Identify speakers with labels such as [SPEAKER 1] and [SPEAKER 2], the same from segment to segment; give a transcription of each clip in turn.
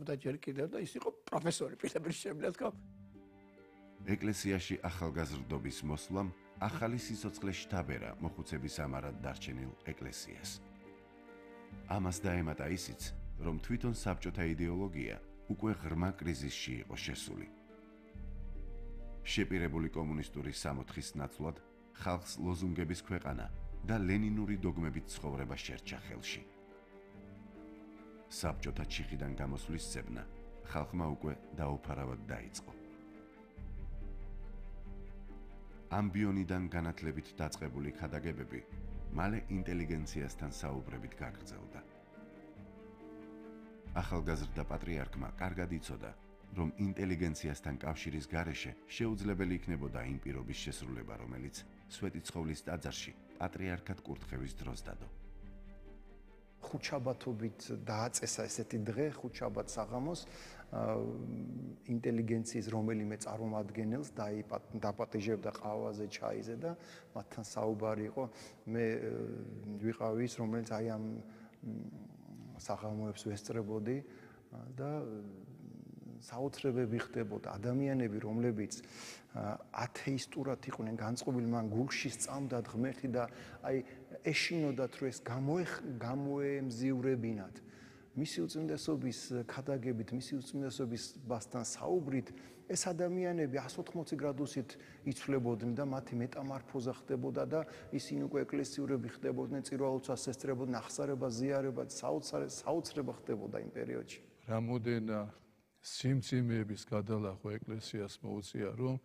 [SPEAKER 1] მუშაობდა ჯერ კიდევ და ის იყო პროფესორი პირდაპირ შემიძლია თქვა.
[SPEAKER 2] ეკლესიაში ახალგაზრდობის მოსვლამ ახალი სიცოცხლე შთაბერა მოხუცების ამარად დარჩენილ ეკლესიას. ამას დაემატა ისიც, რომ თვითონ საბჭოთა იდეოლოგია უკვე ღრმა კრიზისში იყო შესული. შეპირებული კომუნისტური სამოთხის ნაცვლად ხალხს ლოზუნგების ქვეყანა და ლენინური დოგმებით ცხოვრება შერჩა ხელში. საბჭოთა ჩიხიდან გამოსვლის ძებნა ხალხმა უკვე დაუფარავად დაიწყო. ამბიონიდან განათლებით დაწყებული ქადაგებები მალე ინტელიგენციასთან საუბრებით გაგრძელდა. ახალგაზრდა პატრიარქმა კარგად იცოდა, რომ ინტელიგენციასთან კავშირის გარეშე შეუძლებელი იქნებოდა იმ პირობის შესრულება, რომელიც სვეტიცხოვლის ტაძარში პატრიარქად კურთხევის დროს დადო.
[SPEAKER 3] ხუთშაბათობით დააწესა ესეთი დღე, ხუთშაბათ საღამოს ინტელიგენციის რომელიმე წარმომადგენელს დაპატიჟებდა ყავაზე, ჩაიზე და მათთან საუბარი იყო. მე ვიყავი ის, რომელიც აი ამ საღამოებს ვესწრებოდი და საოცრებები ხდებოდა. ადამიანები, რომლებიც ათეისტურად იყვნენ განწყობილი, მან გულში სწამდათ ღმერთი და აი ეშინოდათ, რომ ეს გამოემზივრებინათ. მისი უწმინდესობის ქადაგებით, მისი უწმინდესობასთან საუბრით, ეს ადამიანები 180 გრადუსით იცვლებოდნენ და მათი მეტამორფოზა ხდებოდა და ისინი უკვე ეკლესიურები ხდებოდნენ, წირვალოცვას ესწრებოდნენ, ახსარება, ზიარება, საოცრება ხდებოდა იმ პერიოდში.
[SPEAKER 4] რამოდენა სიმძიმეების გადალახვა ეკლესიას მოუწია, რომ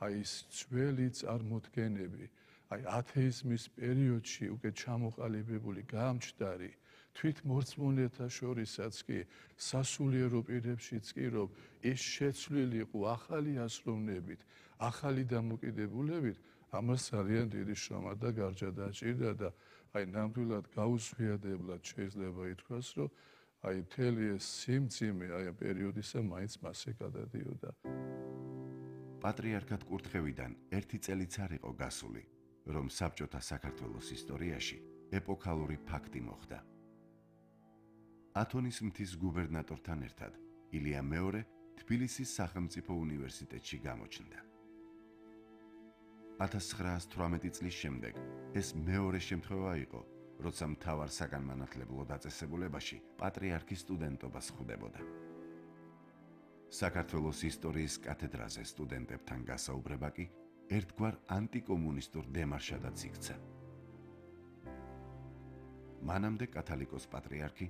[SPEAKER 4] აი ეს ძველი წარმოდგენები, აი ათეიზმის პერიოდში უკვე ჩამოყალიბებული გამჩდარი თვითმორწმუნეთა შორისაც კი სასულიერო პირებშიც კი რომ ეს შეცვლილი იყო ახალი აზროვნებით, ახალი დამოკიდებულებით, ამას ძალიან დიდი შრომა და გარჯა დაჭირდა და აი ნამდვილად გაუზვიადებლად შეიძლება ითქვას, რომ აი მთელი ეს სიმძიმე აი ამ პერიოდისა მაინც მასე გადადიოდა.
[SPEAKER 2] პატრიარქად კურთხევიდან ერთი წელიც არ იყო გასული, რომ საბჭოთა საქართველოს ისტორიაში ეპოქალური ფაქტი მოხდა. ათონის მთის გუბერნატორთან ერთად ილია მეორე თბილისის სახელმწიფო უნივერსიტეტში გამოჩნდა. 1918 წლის შემდეგ ეს მეორე შემთხვევა იყო, როცა მთავარ საგანმანათლებლო დაწესებულებაში პატრიარქის სტუდენტობას ხვდებოდა. საქართველოს ისტორიის კათედრაზე სტუდენტებთან გასაუბრება კი ერთგვარ ანტიკომუნისტურ დემარშადაც იქცა. მანამდე კათალიკოს პატრიარქი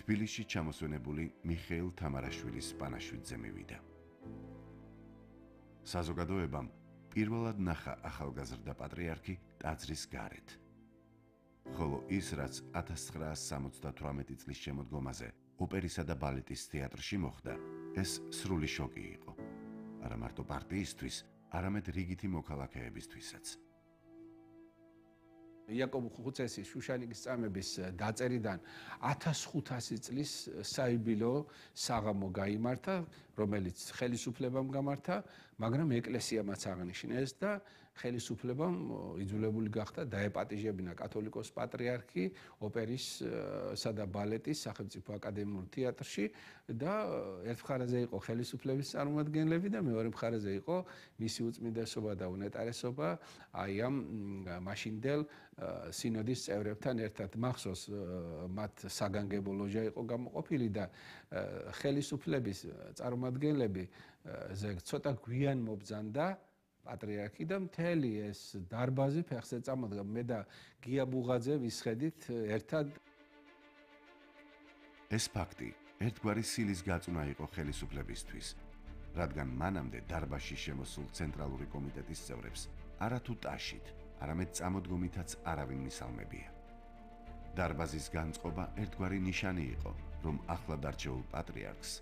[SPEAKER 2] თბილისში ჩამოსვენებული მიხეილ თამარაშვილის პანაშვიდზე მივიდა. საზოგადოებამ პირველად ნახა ახალგაზრდა პატრიარქი ტაძრის გარეთ. ხოლო ის, რაც 1978 წლის შემოდგომაზე ოპერისა და ბალეტის თეატრში მოხდა, ეს სრული შოკი იყო. არა მარტო პარტიისთვის, არამედ რიგითი მოქალაქეებისთვისაც.
[SPEAKER 1] იაკობ ხუცესის შუშანიკის წამების დაწერიდან 1500 წლის საიუბილეო საღამო გაიმართა, რომელიც ხელისუფლებამ გამართა, მაგრამ ეკლესიამაც აღნიშნეს და ხელისუფლებამ იძულებული გახდა დაეპატიჟებინა კათოლიკოს პატრიარქი ოპერისა და ბალეტის სახელმწიფო აკადემიურ თეატრში და ერთ მხარეზე იყო ხელისუფლების წარმომადგენლები და მეორე მხარეზე იყო მისი უწმინდესობა და უნეტარესობა აი ამ მაშინდელ სინოდის წევრებთან ერთად. მახსოვს მათ საგანგებო ლოჟა იყო გამოყოფილი და ხელისუფლების წარმომადგენლები ცოტა გვიან მობძანდა პატრიარქი და მთელი ეს დარბაზი ფეხზე წამოდგა. მე და გია ბუღაძე ვისხედით ერთად.
[SPEAKER 2] ეს ფაქტი ერთგვარი სილის გაწუნა იყო ხელისუფლებისთვის, რადგან მანამდე დარბაზში შემოსულ ცენტრალური კომიტეტის წევრებს არათუ ტაშით, არამედ წამოდგომითაც არავინ მისალმებია. დარბაზის განწყობა ერთგვარი ნიშანი იყო, რომ ახლად არჩეულ პატრიარქს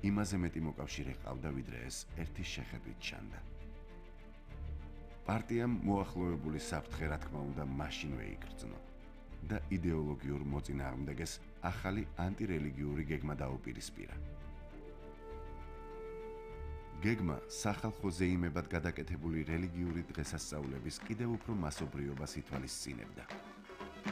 [SPEAKER 2] იმაზე მეტი მოკავშირე ჰყავდა, ვიდრე ეს ერთი შეხედვით ჩანდა. პარტიამ მოახლოებული საფრთხე რა თქმა უნდა მაშინვე იგრძნო და იდეოლოგიურ მოწინააღმდეგეს ახალი ანტირელიგიური გეგმა დაუპირისპირა. გეგმა სახალხო ზეიმებად გადაკეთებული რელიგიური დღესასწაულების კიდევ უფრო მასობრიობას ითვალისწინებდა.